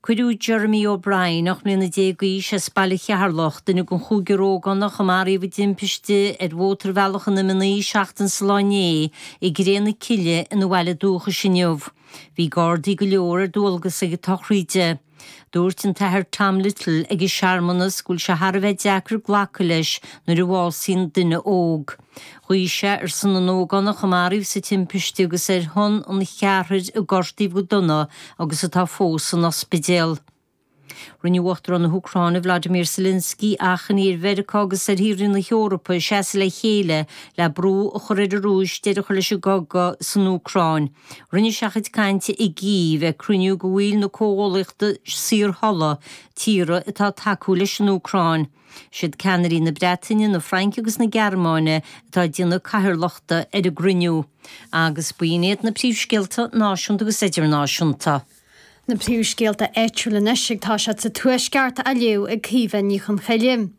Cuireadh Jeremy O'Brien, 18 mbliana d'aois, as Baile Cheatharlach, duine den chúigear ógánach a maraíodh i dtimpiste ar Mhótarbhealach an M9 seachtain sa lá inné, i gcré na cille ina bhaile dúchais inniu. Bhí Gardaí go leor ar dualgas ag an tsochraíd. Dúirt an tAthair Tom Little ag an searmanas go bhfuil sé thar a bheith deacair glacadh leis nuair a bhásaíonn duine óg. Ghuí sé ar son na n-ógánach a maraíodh sa timpiste agus ar shon an cheathrair a gortaíodh go dona agus atá fós san ospidéal. Rinne Uachtarán na hÚcráine Vladimir Zelensky achainí ar Mheiriceá agus ar thíortha na hEorpa seasamh le chéile le brú a chur ar an Rúis deireadh a chur leis an gcogadh san Úcráin. Rinne sé a chuid cainte i gCív ag cruinniú de bhaill na Comhghuallaíochta Saorthola, tíortha atá ag tacú leis an Úcráin. Is iad ceannairí na Breataine, na Fraince agus na Gearmáine atá ag déanamh cathaoirleachta ar an gcruinniú. Agus b'in iad na príomhscéalta náisiúnta agus idirnáisiúnta. Na príomhscéalta áitiúla anois ag toiseacht sa Tuaisceart á léamh ag Caoimhe Ní Chonchoille.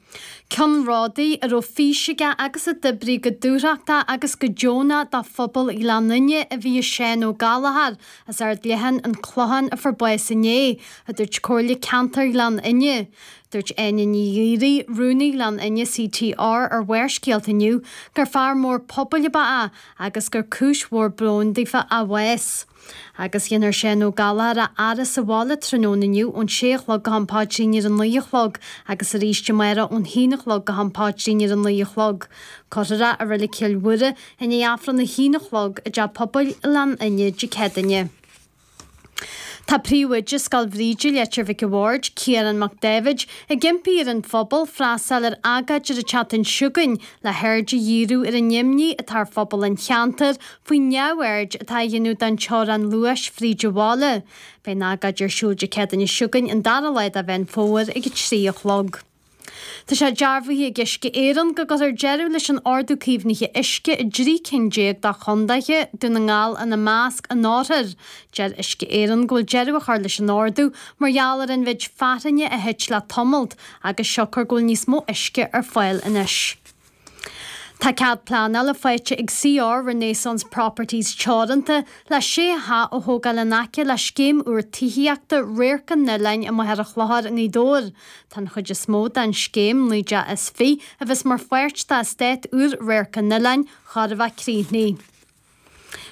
Ceannródaí a raibh fís aige agus a d'oibrigh go dúthrachtach agus go deonach do phobal Ghleann Fhinne a bhí i Seán Ó Gallchóir as Ard Leatháin, An Clochán a fuair bás inné, a dúirt Comhairle Ceantair Ghleann Fhinne. Dúirt Áine Ní Ghaoraí, Rúnaí Ghleann Fhinne CTR ar Bharrscéalta inniu gur fear mór pobail ab ea é agus gur cúis mhór bróin daofa a bhás. Agus dhéanfar Seán Ó Gallchóir a fhaire sa bhaile tráthnóna inniu ón sé a chlog go ham paidrín ar a naoi a chlog agus arís amárach ón haon a chlog go ham paidrín ar a naoi a chlog. Cuirfear é i Reilig Chill Mhuire i ndiaidh Aifreann a haon a chlog i dTeach Pobail Ghleann Fhinne Dé Céadaoine. Tá Príomhoide Scoil Bhríde, Leitir Mhic a' Bhaird, Ciarán Mac Daibhéid, ag impí ar an phobal freastal ar agóid ar an tseachtain seo chugainn le haird a dhíriú ar an imní atá ar phobal an cheantair faoin neamhaird atá á dhéanamh don teorainn luais fríd an bhaile. Beidh an agóid ar siúl Dé Céadaoine seo chugainn, an dara lá de Mheán Fómhair ag 3 a chlog. Tá sé dearbhaithe ag Uisce Éireann go gcuirfear deireadh leis an Ordú Caomhnaithe Uisce i dtrí cinn déag dá chondaethe, Dún na nGall ina measc, in oirthear. Deir Uisce Éireann go bhfuil deireadh á chur leis an ordú mar gheall ar an mhéid fearthainne a thit le tamalt agus siocair go bhfuil níos mó uisce ar fáil anois. Tá cead pleanála faighte ag CR Renaissance Properties Teoranta le sé theach a thógáil in aice le scéim úr tithíochta Radharc an Oileáin i Machaire Chlochair i nGaoth Dobhair. Tá an chuid is mó den scéim, 19 dteach, a bheas mar pháirt d'eastát úr Radharc an Oileáin, chóir a bheith críochnaithe.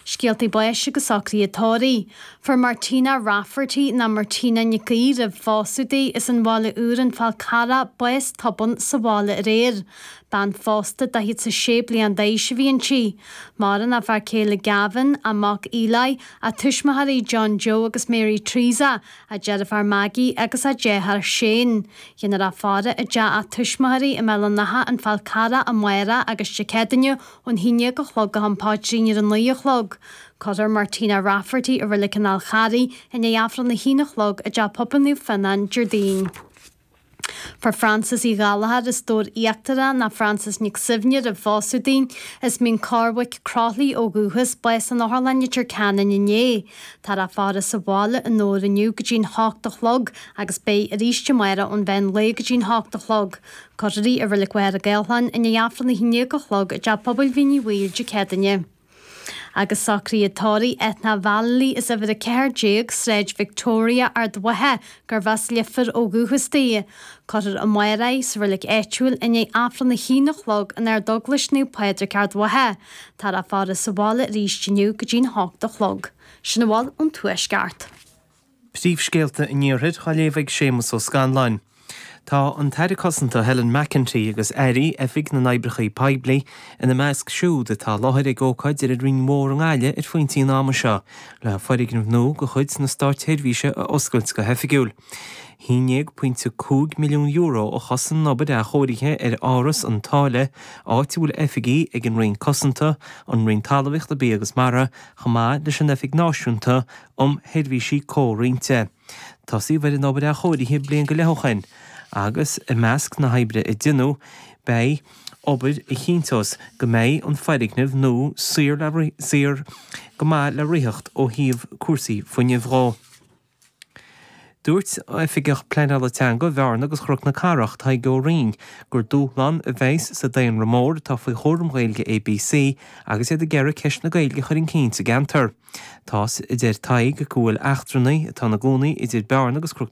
Scéaltaí báis agus socruithe tórraimh. Fuair Martina Rafferty, nó Martina Nic Aoidh roimh phósadh di, as an Bhaile Úr, An Fál Carrach, bás tobann sa bhaile aréir. Bean phósta 46 bliain d'aois a bhí inti. Maireann a fear céile Gavin, a mac Eli, a tuismitheoirí John Joe agus Mary Teresa, a deirfiúr Maggie agus a deartháir Shane. Déanfar í a fhaire i dteach a tuismitheoirí i mBéal an Átha, An Fál Carrach amárach agus Dé Céadaoine Ón 11 a chlog go ham paidrín ar a 9 a chlog. Cuirfear Martina Rafferty i Reilig an Fháil Charraigh i ndiaidh Aifreann a haon a chlog i dTeach Pobail Naomh Fionnán Déardaoin. Fuair Frances Uí Ghallchóir as Dobhar Íochtarach ná Frances Nic Suibhne roimh phósadh di, as Mín Corrbhaic, Croithlí ó dhúchas, bás in Otharlann Leitir Ceanainn inné. Táthar á faire sa bhaile i nDobhar inniu go dtí'n hocht a chlog agus beidh arís amárach ón mheán lae go dtí'n hocht a chlog. Cuirfear í i Reilig Mhachaire Gathlán i ndiaidh Aifreann a 11 a chlog i dTeach Pobail Mhín Uí Bhaoill Dé Céadaoine. Agus socruithe tórraimh Ethna Vallely as uimhir 14, Sráid Victoria, Ard Mhacha, gurbh as Leifear ó dhúchas di. Cuirfear amárach í sa reilig áitiúil i ndiaidh Aifreann a haon a chlog in Ardeaglais Naomh Pádraig Ard Mhacha. Táthar á faire sa bhaile arís inniu go dtí'n hocht a chlog. Sin a bhfuil ón Tuaisceart. Príomhscéalta an Iarthair á léamh ag Séamus Ó Scanláin. Tá an tAire Cosanta Helen McEntee agus Airí Oifig na nOibreacha Poiblí ina measc siúd atá i láthair ag ócáid ar an Rinn Mhór i nGaillimh ar phointí an ama seo le foirgneamh nua de chuid na Státseirbhíse a oscailt go hoifigiúil. €11.5 milliún a chosain an obair athchóirithe ar Áras an tSáile, áit a bhfuil oifigí ag an Roinn Cosanta, an Roinn Talmhaíochta, Bia agus Mara, chomh maith leis an Oifig Náisiúnta um Sheirbhísí Comhroinnte. Tosaíodh ar an obair athchóirithe bliain go leith ó shin agus i measc na hoibre a deineadh beidh obair a chinnteos go mbeidh an foirgneamh nua saor le saor go maith le ritheacht ó thaobh cúrsaí fuinnimh dhó. Dúirt Oifigeach Pleanála Teanga Bhearna agus Chnoc na Cathrach, Tadhg Ó Rinn, gur dúshlán a bheas sa daonra mór atá faoi chúram Ghaeilge ABC agus iad ag iarraidh ceist na Gaeilge a chur chun cinn sa gceantar. Tá, a deir Tadhg, go bhfuil eachtrannaigh atá ina gcónaí idir Bearna agus Cnoc.